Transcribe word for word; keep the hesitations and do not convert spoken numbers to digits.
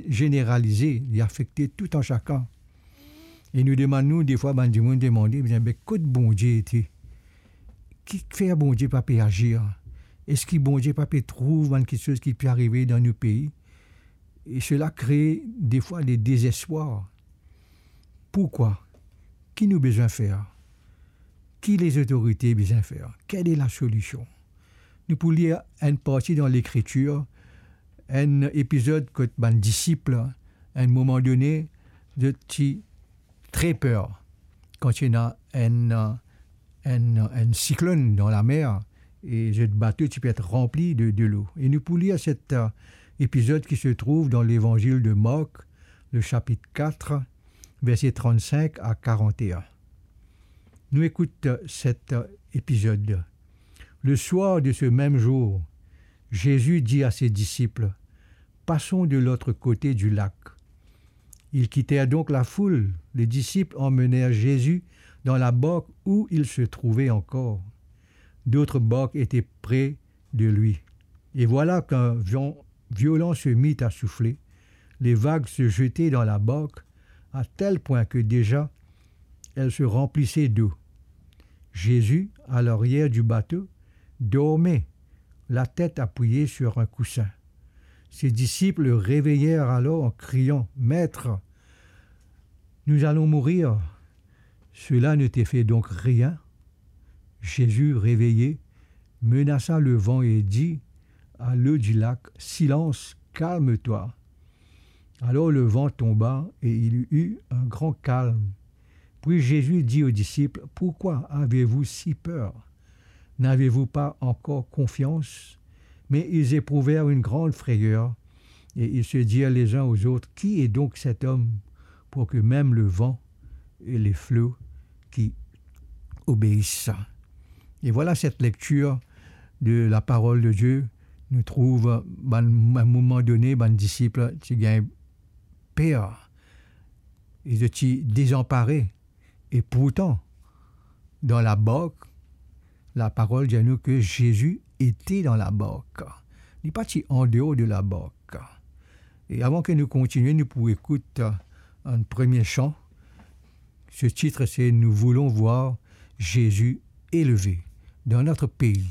zeneralize, li afekte tou an sakenn. E nou demann nou, defwa bann dimoun demande, "Bien, be kot Bondie ete? Kifer Bondie pa pe azir? Eski Bondie pa pe trouv bann kiksoz ki pe arive dan nou pei?" E sela kree defwa de dezespwar. Pourkwa? Ki nou bizin fer? Ki lezotorite bizin fer? Kel e lasolision? Nou pou lir enn parti dan Lekritir, enn epizod kot bann disip, enn moman done, zot ti tre per kan ti ena enn, enn, enn siklonn dan lamer, e zot bato ti pe et ranpli de delo. E nou pou lir set, eh, epizod ki se trouv dan Levanzil de Mark, le sapit kat, verse trant-sink a karant-enn. Nou ekout, eh, set, eh, epizod. Le soir de ce même jour, Jésus dit à ses disciples, "Passons de l'autre côté du lac." Ils quittèrent donc la foule. Les disciples emmenèrent Jésus dans la barque où il se trouvait encore. D'autres barques étaient près de lui. Et voilà qu'un vent violent se mit à souffler. Les vagues se jetaient dans la barque à tel point que déjà elle se remplissait d'eau. Jésus, à l'arrière du bateau, dormait, la tête appuyée sur un coussin. Ses disciples le réveillèrent alors en criant, "Maître, nous allons mourir." Cela ne te fait donc rien ? Jésus, réveillé, menaça le vent et dit à l'eau du lac, "Silence, calme-toi." Alors le vent tomba et il y eut un grand calme. Puis Jésus dit aux disciples, "Pourquoi avez-vous si peur ? N'avez-vous pas encore confiance ? » Mais ils éprouvèrent une grande frayeur et ils se dirent les uns aux autres, "Qui est donc cet homme pour que même le vent et les flots qui obéissent à?" Et voilà cette lecture de la parole de Dieu. Nou trouv, bann, a un moment donné, bann disip ti gagn per, zot ti desanpare. E pourtan, dan labark, laparol dir nou ke Zezi ete dan labark. Li pa ti andeor de labark. E avan ke nou kontinie, nou pou ekout, euh, enn premie san. Ce titre, c'est Nous voulons voir Jésus élevé dans notre pays.